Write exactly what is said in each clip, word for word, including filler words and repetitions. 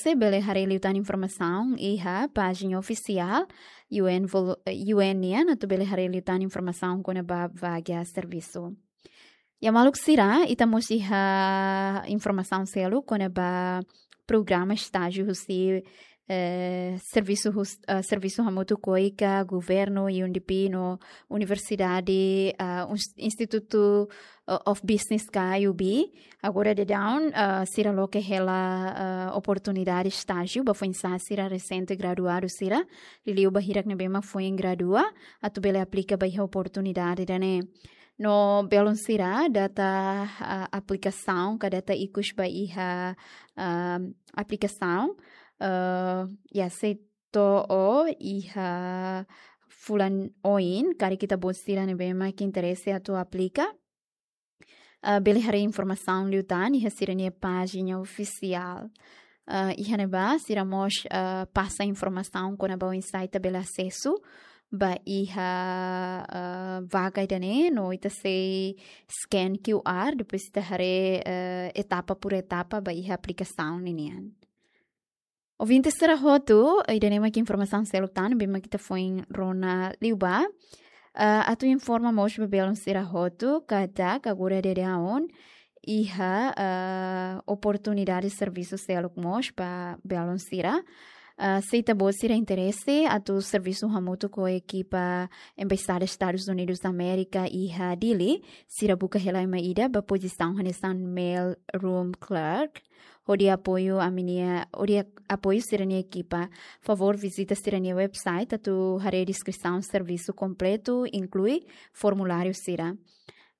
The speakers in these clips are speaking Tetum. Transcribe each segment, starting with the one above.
interese bele haree liután informasaun iha pájina ofisiál U N vol-, U N nian, atu bele haree liután informasaun kona-ba vaga servisu. Ya maluk sira, ita mós iha informasaun seluk kona-ba programa estájiu husi, eh, servisu hus-, eh, servisu hamutuk ho KOICA, governu, U N D P no universidade, eh, uns-, Institute, eh, of Business ka I U B. Agora daudaun, eh, sira loke hela, eh, oportunidade estájiu ba foin-sa'e sira resente graduadu sira, liuliu ba hirak ne'ebé mak foin gradua, atu bele aplika ba iha oportunidade ida-ne'e. No belun sira, data, ah, aplikasaun ka data ikus ba iha, ah, aplikasaun, eh, ya sei to'o iha fulan oin, karik ita-boot sira ne'ebé mak interese atu aplika, eh, bele haree informasaun liután iha sira-nia pájina ofisiál. Eh, iha ne'ebá sira mós, eh, pasa informasaun kona-ba oinsá ita bele asesu ba iha, eh, vaga ida-ne'e, no ita sei scan Q R, depois ita haree, eh, etapa por etapa ba iha aplikasaun ninian. Ouvinte sira hotu, ida-ne'e mak informasaun seluk tan ne'ebé mak ita foin rona liubá. Eh, atu informa mós ba belun sira hotu katak agora daudaun iha, eh, oportunidade servisu seluk mós ba belun sira. Eh, se ita-boot sira interese atu servisu hamutuk ho ekipa Embaixada Estadus Unidus Amérika iha Dili, sira buka hela ema ida ba pozisaun hanesan mail room clerk. Hodi apoiu ami-nia, hodi apoiu sira-nia ekipa, favór vizita sira-nia website atu haree deskrisaun servisu kompletu, inklui formuláriu sira.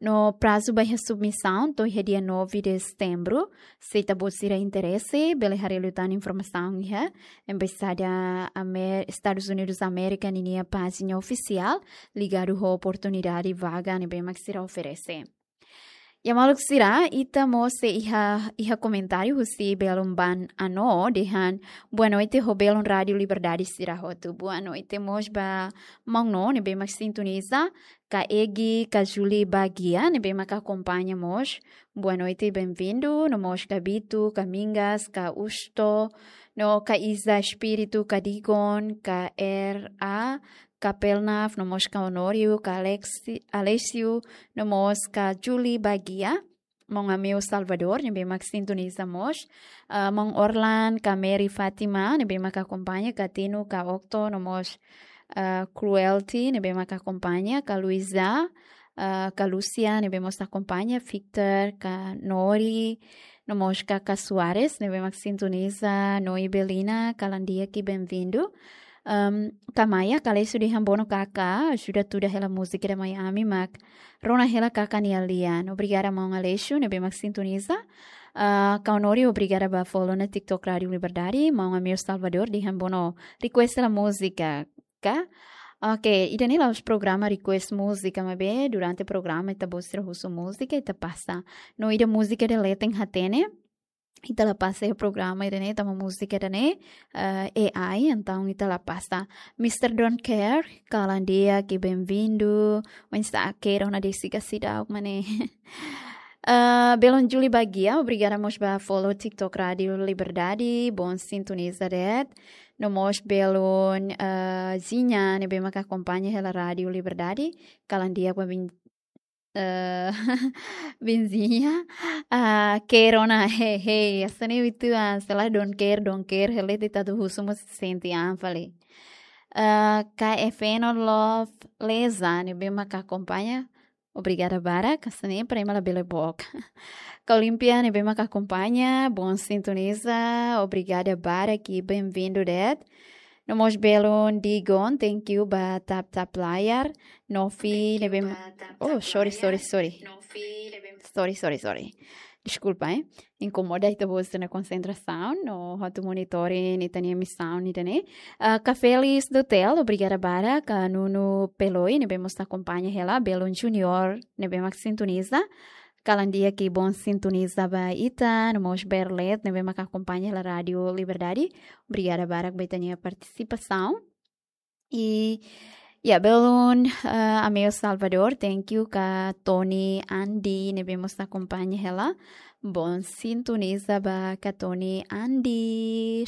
No prazu ba iha submisaun to'o iha dia nove de setembro. Se ita-boot sira interese, bele haree liután informasaun iha Embaixada Amer-, Estadus Unidus Amérika ninia pájina ofisiál, ligadu ho oportunidade vaga ne'ebé mak sira oferese. Ya maluk sira, ita mós sei iha, iha komentáriu husi belun Ban Ano, dehan: "Boa noite ho belun Rádiu Liberdade sira hotu." Boa noite mós ba maun No ne'ebé mak sintoniza, ka Egi, ka Julie Bagia ne'ebé mak akompaña mós. Boa noite, bem-vindo. No mós ka Bitu, ka Mingas, ka Usto, no ka Isa Espíritu, ka Digon, ka R A, ka Pelnaf, no mós ka Honório, ka Alexi-, Alessio, no mós ka Julie Bagia, maun Ameu Salvador ne'ebé mak sintoniza mós, ah, maun Orlan, ka Mary Fátima ne'ebé mak akompaña, ka Tino, ka Octo, no mós, ah, Cruelty ne'ebé mak akompaña, ka Luisa, ah, ka Lúcia ne'ebé mós akompaña, Victor, ka Nori, no mós ka, ka Soares ne'ebé mak sintoniza, no Ibelina, kalan di'ak i bem-vindo. Ahm, ka Maia, ka Alessio dehan: "Bono kaka, ajuda tuda hela múzika ida Miami mak rona hela kaka nia lian." Obrigada maun Alessio ne'ebé mak sintoniza. Ah, ka Honório, obrigada ba follow ona TikTok Rádiu Liberdade. Maun Amir Salvador dehan: "Bono request hela múzika ka?" Oke, ida-ne'e la'ós programa request múzika, maibé durante programa ita-boot sira husu múzika, ita pasa. No ida múzika ida leten hatene, ita la pasa iha programa ida-ne'e, tanba múzika ida-ne'e, eh, A I, entaun ita la pasa. Mister Don't Care, kalan di'ak i bem-vindo. Oinsá, kero na desi ka seidauk, maun? Ah, belun Julie Bagia, obrigada mós ba follow TikTok Rádiu Liberdade, bon sintoniza de'it. No mós belun, ah, Zinha, ne'ebé mak akompaña hela Rádiu Liberdade, kalan di'ak ba bin-, eh, benzinha. Ah, kero na, he, he, hanesan ne'e uitoan, se lae don't care, don't care, hela de'it atu husu mós sente an fali. Ah, ka Efeno Love Leza, ne'ebé mak akompaña, obrigada barak, hanesan ne'e para ema labele book. Ka Olimpia ne'ebé mak akompaña, bon sintoniza, obrigada barak i bem-vindo de'it. No mós belun Digon, thank you ba tap tap layar. Nofi ne'ebé, oh, sorry, sorry, sorry. Sorry, sorry, sorry. Deskulpa, eh. Inkomoda ita-boot sira-nia konsentrasaun, no atu monitor ita-nia emisaun ida-ne'e. Ah, ka Felis Dutel, obrigada barak, ka Nuno Peloi, ne'ebé mós akompaña hela, belun Junior, ne'ebé mak sintoniza, kalan di'ak i bon sintoniza ba ita, no mós Berlet, ne'ebé mak akompaña hela Rádiu Liberdade. Obrigada barak ba ita-nia partisipasaun. I, ya, belun, eh, Ameu Salvador, thank you, ka Tony Andi, ne'ebé mós akompaña hela. Bon sintoniza ba ka Tony Andi.